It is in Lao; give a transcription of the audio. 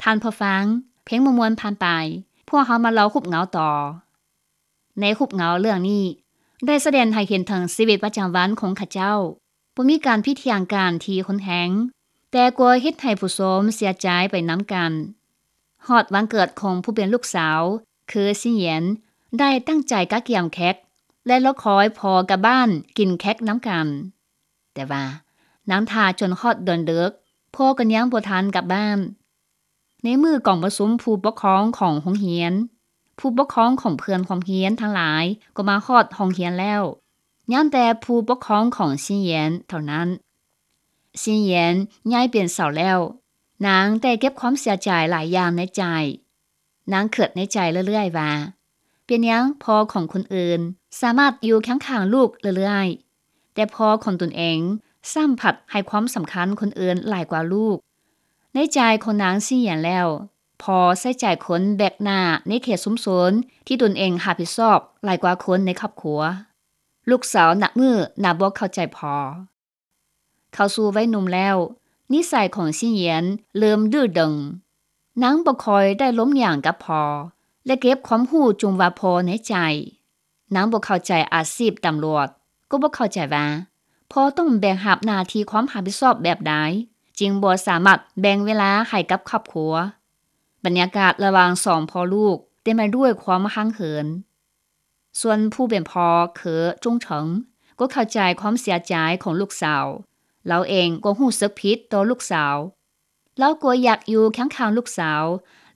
ທ່ານຜູ້ຟັງ, ເພງມ່ວນໆຜ່ານໄປ, ພວກເຮົາມາເລົ່າຮູບເງົາຕໍ່. ໃນຮູບເງົາເລື່ອງນີ້ ໄດ້ສະແດງໃຫ້ເຫັນເຖິງຊີວິດປະຈຳວັນຂອງເຂົາເຈົ້າ, ບໍ່ມີການຜິດຖຽງກັນທີ່ຮຸນແຮງ, ແຕ່ກໍເຮັດໃຫ້ຜູ້ຊົມເສຍໃຈໄປນຳກັນ. ຮອດວັນເກີດຂອງຜູ້ເປັນລູກສາວ, ຄື ຊິນຢຽນ ໄດ້ຕັ້ງໃຈກະກຽມເຄັກ ແລະ ລໍຄອຍພໍ່ກັບບ້ານກິນເຄັກນຳກັນ. ແຕ່ວ່ານາງຖ້າຈົນຮອດເດືອນເດິກ, ພໍ່ກໍຍັງບໍ່ທັນກັບບ້ານ. ໃນມື້ກອງປະຊຸມຜູ້ປົກຄອງຂອງໂຮງຮຽນ, ຜູ້ປົກຄອງຂອງເພື່ອນຮ່ວມຮຽນທັງຫຼາຍກໍມາຮອດໂຮງຮຽນແລ້ວ. ຍັງແຕ່ຜູ້ປົກຄອງຂອງ ຊິນຢຽນ ເທົ່ານັ້ນ. ຊິນຢຽນ ຍ້າຍເປັນສາວແລ້ວ, ນາງໄດ້ເກັບຄວາມເສຍໃຈຫຼາຍຢ່າງໃນໃຈ. ນາງຄິດໃນໃຈເລື້ອຍໆວ່າ ເປັນຫຍັງພໍ່ຂອງຄົນອື່ນສາມາດຢູ່ຄຽງຂ້າງລູກເລື້ອຍໆ, ແຕ່ພໍ່ຂອງຕົນເອງຊ້ຳພັດໃຫ້ຄວາມສຳຄັນຄົນອື່ນຫຼາຍກວ່າລູກ. ໃນໃຈຂອງນາງ ຊິນຢຽນ ແລ້ວ, ພໍ່ໃສ່ໃຈຄົນແບກໜ້າໃນເຂດຊຸມຊົນທີ່ຕົນເອງຮັບຜິດຊອບຫຼາຍກວ່າຄົນໃນຄອບຄົວ. ລູກສາວນັບມື້ນັບບໍ່ເຂົ້າໃຈພໍ່. ເຂົ້າສູ່ໄວໜຸ່ມແລ້ວ, ນິໄສຂອງ ຊິນຢຽນ ເລີ່ມດື້ດຶງ. ນາງບໍ່ຄ່ອຍໄດ້ລົມຫຍັງກັບພໍ່ ແລະ ເກັບຄວາມຮູ້ຈຸມວ່າພໍ່ໃນໃຈ. ນາງບໍ່ເຂົ້າໃຈອາຊີບຕຳຫຼວດ, ກໍບໍ່ເຂົ້າໃຈວ່າພໍ່ຕ້ອງແບກຮັບໜ້າທີ່ຄວາມຮັບຜິດຊອບແບບໃດ, ຈຶ່ງບໍ່ສາມາດແບ່ງເວລາໃຫ້ກັບຄອບຄົວ. ບັນຍາກາດລະຫວ່າງສອງພໍ່ລູກເຕັມໄປດ້ວຍຄວາມຫ່າງເຫີນ. ສ່ວນຜູ້ເປັນພໍ່ ຄື ຈຸງເຖິງ ກໍເຂົ້າໃຈຄວາມເສຍໃຈຂອງລູກສາວ. ລາວເອງກໍຮູ້ສຶກຜິດຕໍ່ລູກສາວ. ລາວກໍຢາກຢູ່ຄຽງຂ້າງລູກສາວ